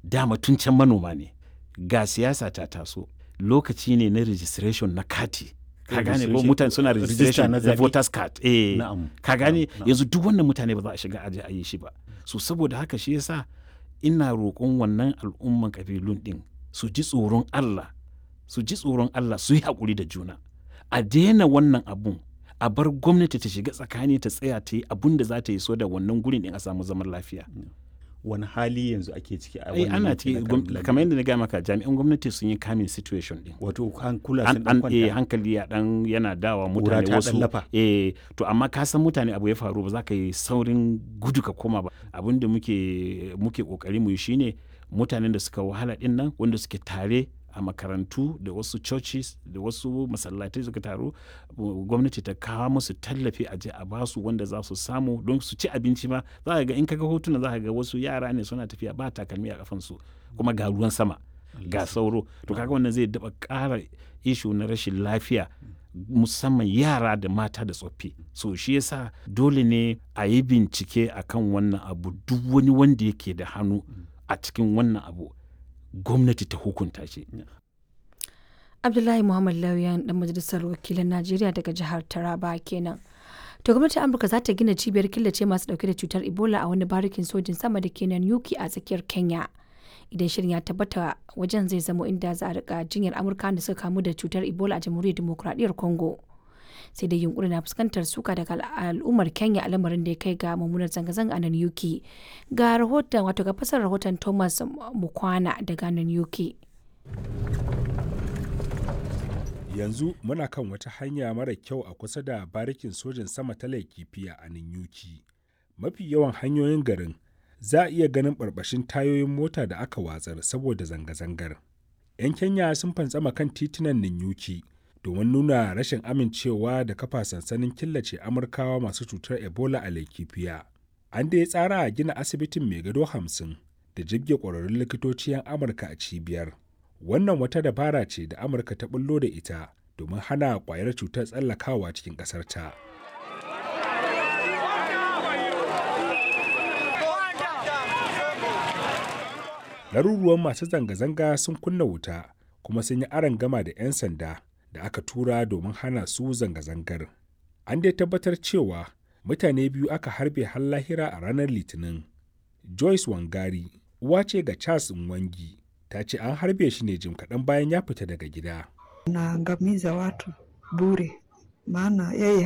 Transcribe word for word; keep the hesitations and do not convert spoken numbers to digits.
Dama tun can manoma ne. Ga siyasa ta taso, lokaci ne na registration na kati. Ka gane ko? Mutane suna registration na voters card. Eh, ka gane, yanzu duk wannan mutane ba za a shiga aje a yi shi ba. So saboda haka shi yasa ina roƙon wannan al'umman kabilun din su ji tsoron Allah, su ji tsoron Allah, su yi haƙuri da juna, a daina wannan abun, a bar gwamnati ta shiga tsakani, ta tsaya ta yi abun da za ta yi so da wannan gurin din a samu zaman lafiya. Wani hali yanzu ake ciki a wannan? Ana ciki, kamar yadda na gaya maka, jami'an gwamnati sun yi kamin situation din. Wato hankula sun dan kwanta, hankali ya dan yana dawa mutane wasu. Eh, to amma ka san mutane, abu ya faru, ba za ka yi saurin gudu ka koma ba. Abin da muke muke kokari mu yi shine mutanen da suka wahala din nan, wanda suke tare a makarantu da wasu churches da wasu masallatai suka taru, gwamnati ta kawo musu tallafi, a je a basu wanda za su samu don su ci abinci ma. Za ka ga, in kaga hotuna, za ka ga wasu yara ne suna tafiya ba takalmi a kafansu, kuma ga ruwan sama, ga sauro. To kaga wannan zai daba ƙara issue na rashin lafiya, musamman yara da mata da tsoffi. So shi yasa dole ne a yi bincike akan wannan abu. Duk wani wanda yake da hannu a cikin wannan abu, gwamnati ta hukunta shi. Abdullahi Muhammad Lauyan, dan majalisar wakilan Najeriya daga jihar Taraba kenan. To gwamnatin Amurka za ta gina cibiyar killace masu dauke da cutar Ebola a wani barikin sojin sama da ke nan Yuki a tsakiyar Kenya. Idan shirin ya tabbata, wajen zai zamo inda za a rika jinyar Amurka da suka kamu da cutar Ebola a Jamhuriyar Dimokuraɗiyyar Congo. Sai dai yunkurin na fuskantar suka daga al'ummar Kenya, a lamarin da ya kai ga mummunar zanga-zanga a nan Yuki. Ga rahoton, wato ga fasar rahoton Thomas Mukwana daga nan Yuki. Yanzu muna kan wata hanya mara kyau a kusa da barikin sojin sama ta Laikipia a Nanyuki. Mafi yawan hanyoyin garin za a iya ganin barbashin tayoyin mota da aka watsar saboda zanga-zangar. 'Yan Kenya sun fantsama kan titunan Nanyuki domin nuna rashin amincewa da kafa sansanin killace Amurkawa masu cutar Ebola a Laikipia. An dai tsara a gina asibitin mai gado hamsin da jibge ƙwararrun likitoci 'yan Amurka a cibiyar. Wannan wata dabara ce da Amurka ta bullo da ita domin hana ƙwayar cutar tsallakawa cikin ƙasarta. Laruruwan masu zanga-zanga sun kunna wuta kuma sun yi aron gama da 'yan sanda da aka tura domin hana su zanga-zangar. An dai tabbatar cewa mutane biyu aka harbe har lahira a ranar Litinin. Joyce Wangari uwa ce ga Charles Nwangi, ta ce an harbe shi ne jim kaɗan bayan ya fita daga gida. Naangamiza watu bure, maana yeye